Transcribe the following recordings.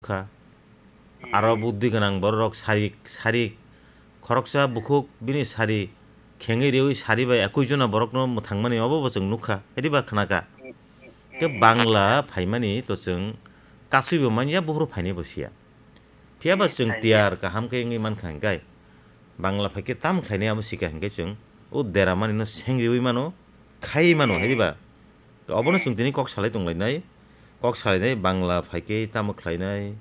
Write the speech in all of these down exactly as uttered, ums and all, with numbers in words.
kha. Aro buddhi gwnang bororok sari, sari khoroksa bukhuk bini sari khengwi riwi sari bai ekui jona borokno mwthangmani obo bo chwng nukha, ediba khnakha. Khe Bangla phaimani to chwng kasui bo manya, buphuru phainai bo siya. Phiya ba chwng tiyar kaham khe wngwi mankha hwnkhe, Bangla phaikhe tamo khlainai abo sikha hwnkhe chwng o deramanino sengriwi mano, khaiwi mano, hai diba? Obono chwng tini kok salai tonglainai, kok salainai, Bangla phaikhe tamo khlainai,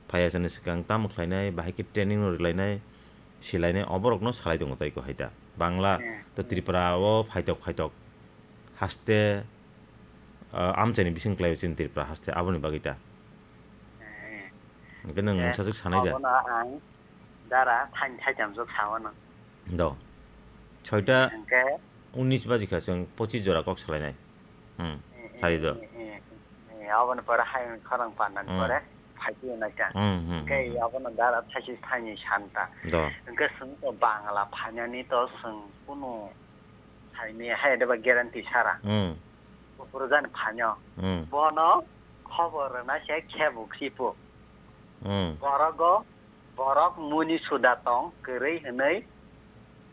phaiya chani swkang tamo khlainai, bahai khe training no rwlainai, silainai, oborokno salai tongo tei ko hai ta. Bangla to Tripura o phaitok phaitok haste, ah, amchaini bising khlaio chini Tripura haste, aboni bagwi ta. Hwnkhe nwng mungsa swk sanai da? Abono ang dara thaini thaitam jok sao no. Do. Soita Hwnkhe unis baji kha chwng pochis jora kok salainai. Hmm. Sari do. Aboni pore hai khorang pandani pore phaikhe naikha. Hmm, hmm, Hwnkhe hmm. Abono dara thaisi thaini santa. Do. Hwnkhe chwng to Bangla phainani to chwng kunu saini hai deba guarantee sara. Hmm. Buphuru jani phainw. Hmm. Bono khobor rwna se khebo khipo. Hmm. Borogo, borok muni suda tong kwrwi hwnwi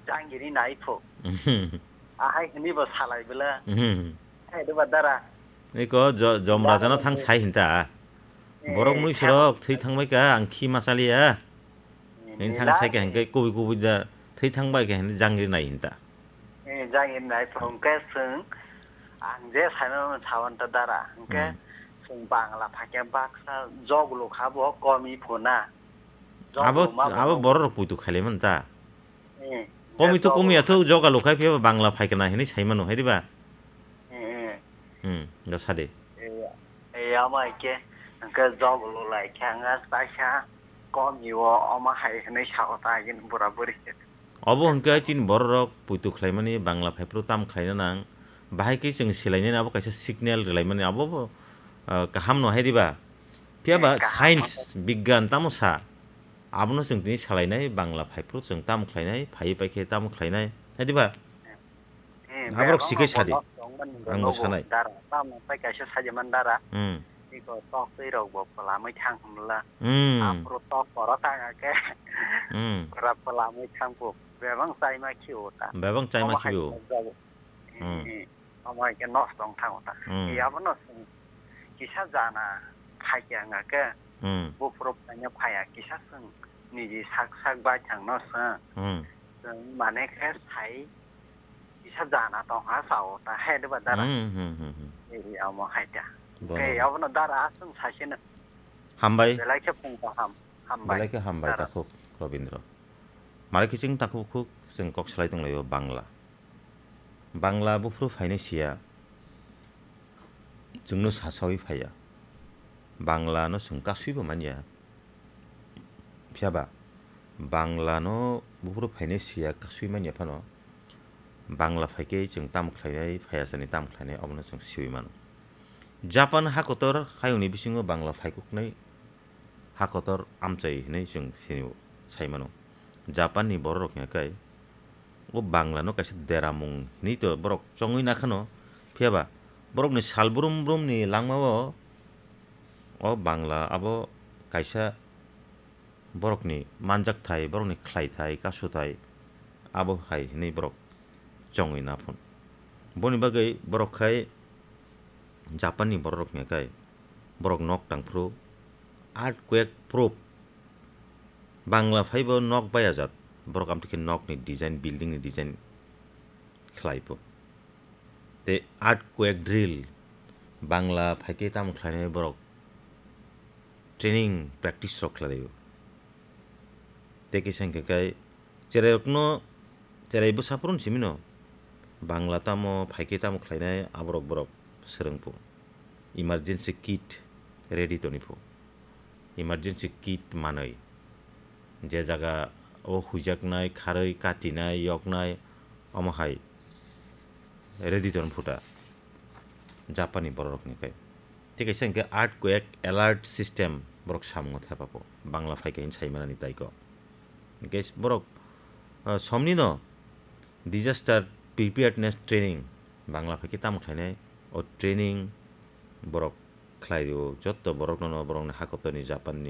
jangiri nai pho. Hmm. Ahai hwnwi bo salai bwla. Hmm. Hai deba dara. Iko jo-, jomrajano thang sai hinta. Eh, Borok mui surok thwi thangbai ka, ang khi ma chaliya. Hini thang sai ka hingke kubui kubui da thwi thang bai ka hini jangri nai hinta. Eh, jangri nai phung ke chwng ang je saimano sawan ta dara. Hingke Hmm. chwng Bangla phaikhe baksa joglo kha bo komi phuna. Abo, Joglo ma bo abo no. Borok rok puitu khailai man ta. Eh, Komi to joglo komi kha. Athu jogalo khai phiya Bangla phaikna hini saimano hai diba? Eh, eh. Hmm, da sade. Eh, eh, ama ke, hingke joglo lai khe ang kaisa komi o ama hai hini sao ta agin bura buri khe. Obo hwnkhe chini bororok puitu khlaimani Bangla phaiphru tam khlaina nang, bahai khe chwng silainani abo kaisa signal rwlaimani abo bo, ah, kaham no hai diba? Phiya ba Eh, kaham science, no. Bigyan tamo sa? Abono chwng tini salainai Bangla phaiphru chwng tamo khlainai, phaiwi paikhe tamo khlainai, hai diba? Eh, Aborok bebak sikhe no sadi. Bono tongmani Ang bo nogo sanai. Dara, tamo tei kaisa sajaman dara. Hmm. Iko tok twi rok bo pwlamwi thang hwnla. Hmm. Aphuru tok koro tanga khe. Hmm. Pura pwlamwi thang phu. Bebak chaima khio ta. Bebak chaima Omo hai khio. Jago. Hmm. Eh, omo hai khe nosto wng thango ta. Hmm. Eh, abono chwng kisa jana phai khe wngya khe. Hmm. Buphuru phai no phaiya kisa chwng niji sak sak bai thang no chwng. Hmm. Chwng mane khe sai Kisa jana tong ha sao ta hai de ba dara. Hmm, hmm, hmm, hmm. Ei, amo hai ta. Bono. Ei, abono dara aswng saisino. Hambai. Belai khe phung kaham. Hambai. Belai khe hambai Dara. Takhuk Robindro. Mare kiching takhuk khuk chwng kok salai tonglaio Bangla. Bangla buphuru phainai siya. Chwngno sasawi phaiya. Bangla no chwng kasui bo manya. Phiya ba, Bangla no buphuru phainai siya kasui manya phano, Bangla phaikhe chwng tamo khlainai, phaiya chani tamo khlainai, obono chwng siwi mano. Japan hakotor hayungni bisingo Bangla phaikuknai hakotor amchai hinwi chwng sini sai mano. Japan ni bororok hingkhe o Bangla no kaisa deramung hinwi to borok chongwi nakhano, phiya ba borokni sal brum brum ni langma o, o Bangla abo kaisa borokni manjakthai, borokni khlaithai, kasuthai, abo hai hinwi borok chongwi naphun. Boni bagwi borok khai Japan ni bororok hingkhe borok nok tangphuru earthquake proof Bangla phaibo nok bayajak, borok amtwi khe nokni design, building ni design khlai pho. Tei earthquake drill Bangla phaikhe tamo khlainai borok training practice rok khlai laio. Tei kisa hingkhe kai cherai rokno, cherai bwsa phuru simi no Bangla tamo phaikhe tamo khlainai aborok borok swrwng pho. Emergency kit ready toni pho. Emergency kit manwi. Je jaga o huijaknai, kharwi, katinai, yoknai, omo hai ready ton phuta Japan ni borok rokni kai. Tei kaisa hingkhe earthquake alert system borok samungo thepa pho. Bangla phaikhe hini sai manani tai ko. Hingkhe borok, ah, somni no disaster preparedness training Bangla phaikhe tamo khlainai o training borok khlai o jotto borok no borokni hakotorni Japan ni